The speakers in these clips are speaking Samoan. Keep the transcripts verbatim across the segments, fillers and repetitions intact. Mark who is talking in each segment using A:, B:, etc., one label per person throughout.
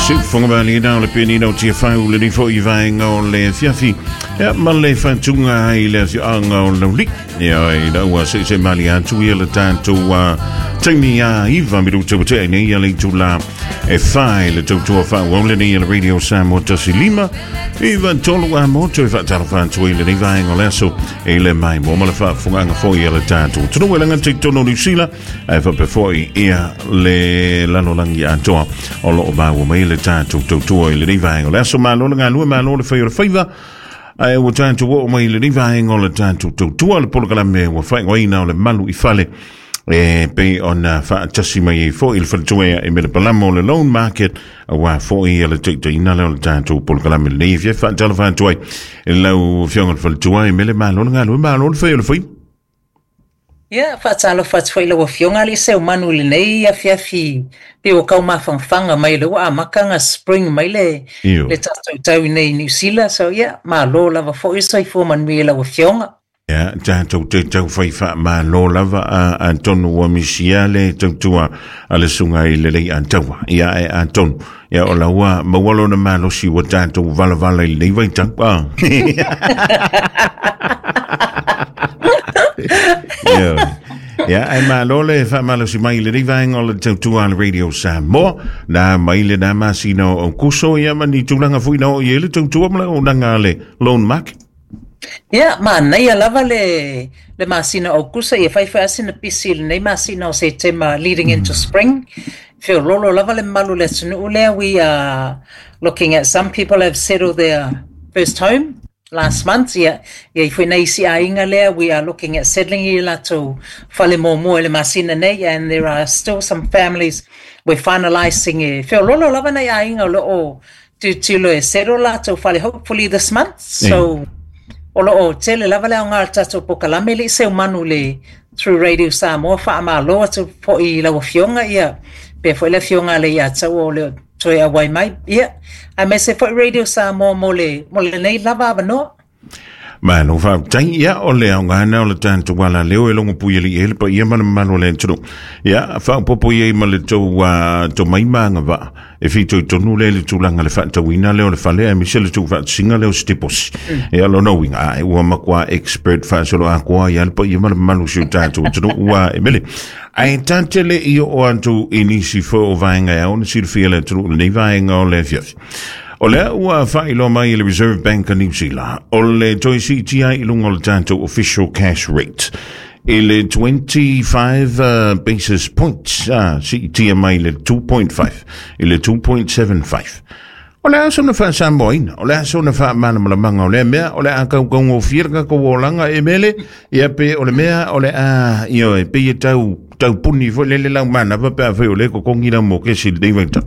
A: Siufoga o le penina o Tiafau le nifo i vaenga o le afiafi. Ia ma le faatuga ai le afioaga o Lauli. Ia i lau se se mali atu ia le tatou taimi a iva minuta ua tea nei ia le itula e fai le tautua faaauau lenei a le Radio Samoa tasi lima iva tolu a moto e faatalofa atu ai lenei vaega o le aso e le mai mo ma le faafofogaaga foi a le tatou atunuu e laga titonu o Niusila ae faapea foi ia le lalolagi atoa o loo maua mai le tatou tautua i lenei vaega o le aso. Malo le galue, malo le fai o le faiva. Ae ua tatou oo mai lenei vaega o le tatou tautua le polokalame ua faaigoaina o le Malu i Fale e pei ona faatasi mai ai foi le faletua e Mele Palama o le Loan Market aua foi le taitaiina lea o le tatou polokalame lenei. Fia faatalofa atu ai i lau afioga le faletua e Mele. Malo le galue, malo le fai o le faiva.
B: Ia, faatalofa atu foi lau afioga le Seumanu i lenei afiafi pe o kau mafangafaga mai le ua amataga spring mai le
A: Io.
B: le tatou tau nei i Niu Sila. So ia, malo lava foi, soifua manuia lau afioga.
A: Ia, tatou te tau fai faamalo lava a atonu ua misia le tautua a le susuga i le Leiataua. Ia e atonu. Ia o la ua maua lona malosi ua tatou valavala i lenei vaitau. Ah. Ia. Ia, ai malo le faamalosi mai i lenei vaega o le tautua a le Radio Samoa. Na mai le na masina o Kuso ia ma ni tulaga foi na o i le tautua ma le auaunaga a le Loan Market.
B: Ia, manaia lava le le masina o Aukusa, ia fai fai sina pisi i lenei masina o Setema leading into spring. Feololo lava le mamalu o le atunuu lea. We are looking at some people have settled their first home last month. Ia, ia i foi nei isi aiga lea, we are looking at settling i latou fale muamua i le masina nei, and there are still some families we're finalising e feololo lava nei aiga o lo o tilotilo e settle latou fale hopefully this month. So o lo o tele lava le aoga o le tatou polokalame le i Seumanu le through Radio Samoa. Faamalo atu foi i lau afioga ia pe foi le afioga le Leiataua o le toe auai mai. Ia, aemaise foi Radio Samoa mo le mo lenei lava avanoa.
A: Malo faafetai. Ia o le aoga o le tatou ala leo e logo pui ali e le paia ma le mamalu o le atunuu. Ia faaopoopo i ai ma le tou uh, tomai ma agavaa e fitoitonu le le tulaga le faatauina lea o le fale aemaise le tuufaatasiga lea o se deposi. Ia lona uiga a ua matua expert faasoloatoa ia le paia ma le mamalu o si o tatou atunuu ua e mele. Ae tate le i oo atu i nisi foi o vaega e ao ona silafia le atunuu lenei vaega o le afiafi. O lea ua faailoa mai e le Reserve Bank of New Zealand o le toe siitia i luga o le tatou official cash rate i le twenty-five uh, basis points, ah, siitia mai le two point five i le two point seven five. O le a sona faasamoaina, o le a sona faamalamalamaga o lea mea, o le a kaukaugofie le tatou olaga e mele, ia pe o le mea o le a ioe e pei e tau taupuni foi lele lau manava pe afai o le totogi lau mokesi i lenei vaitau?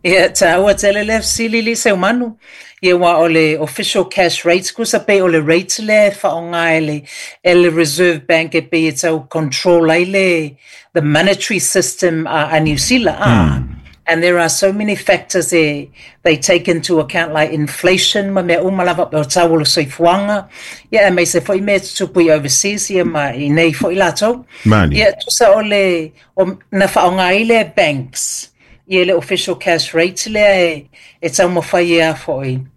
B: Ia, taua tele le fesili le Seumanu. Ia ua o le official cash rates kusa pe o le rate lea e faaaoga e le, e le Reserve Bank e pei e tau control ai le the monetary system a, a New Zealand. Ah. And there are so many factors e, they take into account, like inflation ma mea uma lava pe o tau o le soifuaga. Ia, aemaise foi mea tutupu i overseas ia ma i nei foi latou.
A: Mani.
B: Ia, tusa o le, o, na faaaoga ai le banks ia le official cash rate lea e, e taumafai e a foi.